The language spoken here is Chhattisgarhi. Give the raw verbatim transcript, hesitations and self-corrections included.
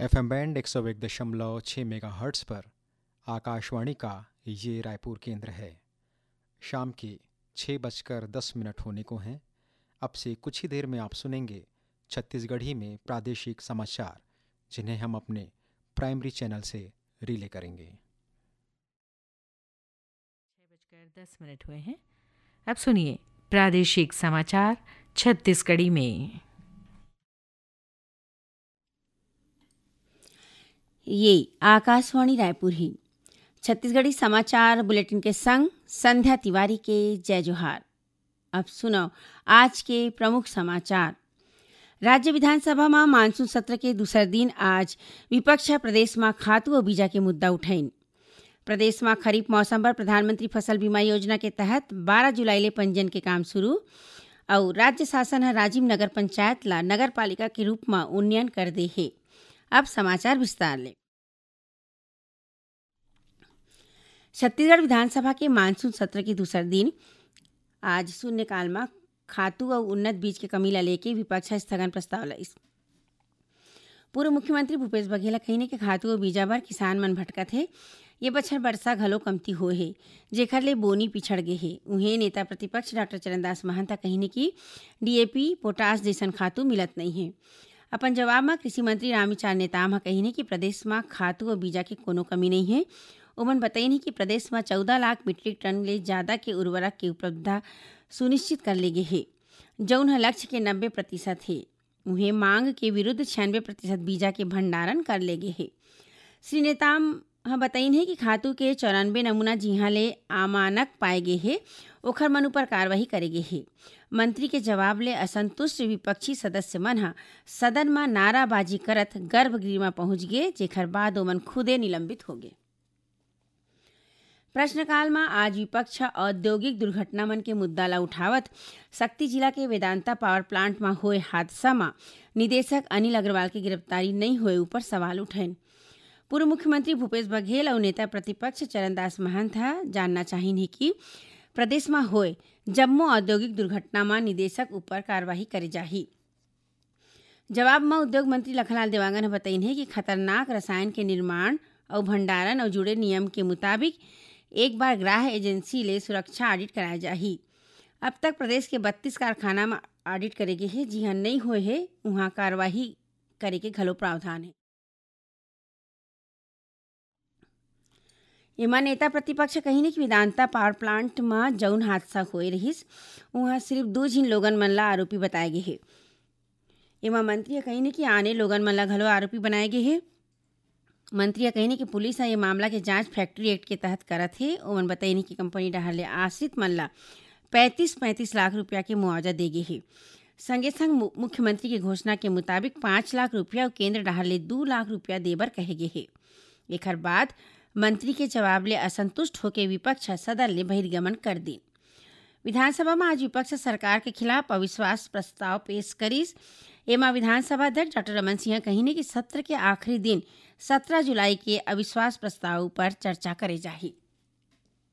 एफएम बैंड एक सौ एक दशमलव छः मेगाहर्ट्ज पर आकाशवाणी का ये रायपुर केंद्र है। शाम के छः बजकर दस मिनट होने को हैं। अब से कुछ ही देर में आप सुनेंगे छत्तीसगढ़ी में प्रादेशिक समाचार, जिन्हें हम अपने प्राइमरी चैनल से रिले करेंगे। छः बजकर दस मिनट हुए हैं। अब सुनिए प्रादेशिक समाचार छत्तीसगढ़ी में। ये आकाशवाणी रायपुर ही। छत्तीसगढ़ी समाचार बुलेटिन के संग संध्या तिवारी के जय जोहार। अब सुनव आज के प्रमुख समाचार। राज्य विधानसभा म मानसून सत्र के दूसर दिन आज विपक्ष ह प्रदेश म खातू अउ बीजा के मुद्दा उठाइन। प्रदेश म खरीफ मौसम बर प्रधानमंत्री फसल बीमा योजना के तहत बारह जुलाई ले पंजीयन के काम शुरू। अउ राज्य शासन ह राजिम नगर पंचायत ला नगर पालिका के रूप म उन्नयन कर दे हे। अब समाचार विस्तार ले। छत्तीसगढ़ विधानसभा के मानसून सत्र के दूसर दिन आज शून्यकाल म खातू अउ उन्नत बीज के कमी ला लेके विपक्ष ह स्थगन प्रस्ताव लाइस। पूर्व मुख्यमंत्री भूपेश बघेल ह कहिन हे कि खातू अउ बीजा बर किसान मन भटकत हे। ये बछर बरसा घलो कमती होए हे, जेखर ले बोनी पिछड़ गे हे। उहें, नेता प्रतिपक्ष डॉक्टर चरणदास महंत ह कहिन हे कि डीएपी, पोटाश जइसन खातू मिलत नइ हे। अपन जवाब म कृषि मंत्री रामविचार नेताम ह कहिन हे कि प्रदेश म खातू अउ बीजा के कोनो कमी नइ हे। ओमन बतइन हे कि प्रदेश म चौदह लाख मीट्रिक टन ले जादा के उर्वरक के उपलब्धता सुनिश्चित कर ले गे हे, जउन ह लक्ष्य के नब्बे प्रतिशत हे। उहें, मांग के विरुद्ध छियानबे प्रतिशत बीजा के भंडारण कर ले गे हे। श्री नेताम ह बतइन हे कि खातू के चौरानबे नमूना जिहां ले अमानक पाए गे हे, ओखर मन ऊपर कार्रवाई करे गे हे। मंत्री के जवाब ले असंतुष्ट विपक्षी सदस्य मन ह सदन म नाराबाजी करत गर्भगृह म पहुंच गे, जेखर बाद ओमन खुदे निलंबित हो गे। प्रश्नकाल म आज विपक्ष ह औद्योगिक दुर्घटना मन के मुद्दा ल उठावत सक्ती जिला के वेदांता पावर प्लांट म होए हादसा म निदेशक अनिल अग्रवाल के गिरफ्तारी नइ होए ऊपर सवाल उठाइन। पूर्व मुख्यमंत्री भूपेश बघेल अउ नेता प्रतिपक्ष चरणदास महंत ह जानना चाहिन हे कि प्रदेश म होए जम्मो औद्योगिक दुर्घटना म निदेशक ऊपर कार्रवाई करे जाही। जवाब म उद्योग मंत्री लखनलाल देवांगन ह बतइन हे कि खतरनाक रसायन के निर्माण अउ भंडारण अउ जुड़े नियम के मुताबिक एक बार ग्राह्य एजेंसी ले सुरक्षा ऑडिट कराए जाही। अब तक प्रदेश के बत्तीस कारखाना म ऑडिट करे गे हे, जिहां नइ होए हे, उहां कार्रवाई करे के घलो प्रावधान हे। एमा नेता प्रतिपक्ष कहिन हे कि वेदांता पावर प्लांट म जउन हादसा होए रहिस, उहां सिर्फ दू झिन लोगन मन ला आरोपी बताए गे हे। एमा मंत्री ह कहिन हे कि आने लोगन मन ला घलो आरोपी बनाए गे हे। मंत्री ह कहिन हे कि पुलिस ह ये मामला के जांच फैक्ट्री एक्ट के तहत करत हे। ओमन बतइन हे कि कंपनी डहार ले आश्रित मन ला पैंतीस पैंतीस लाख रुपया के मुआवजा दे गे हे। संगे संग मु-, मुख्यमंत्री के घोषणा के मुताबिक पाँच लाख रुपया अउ केंद्र डहार ले दू लाख रुपया दे बर कहे गे हे। एखर बाद मंत्री के जवाब ले असंतुष्ट होके विपक्ष ह सदन ले बहिर्गमन कर दीन। विधानसभा म आज विपक्ष ह सरकार के खिलाफ अविश्वास प्रस्ताव पेश करिस। एमा विधानसभा अध्यक्ष डॉक्टर रमन सिंह ह कहिन हे कि सत्र के आखिरी दिन सत्रह जुलाई के अविश्वास प्रस्ताव ऊपर चर्चा करे जाही।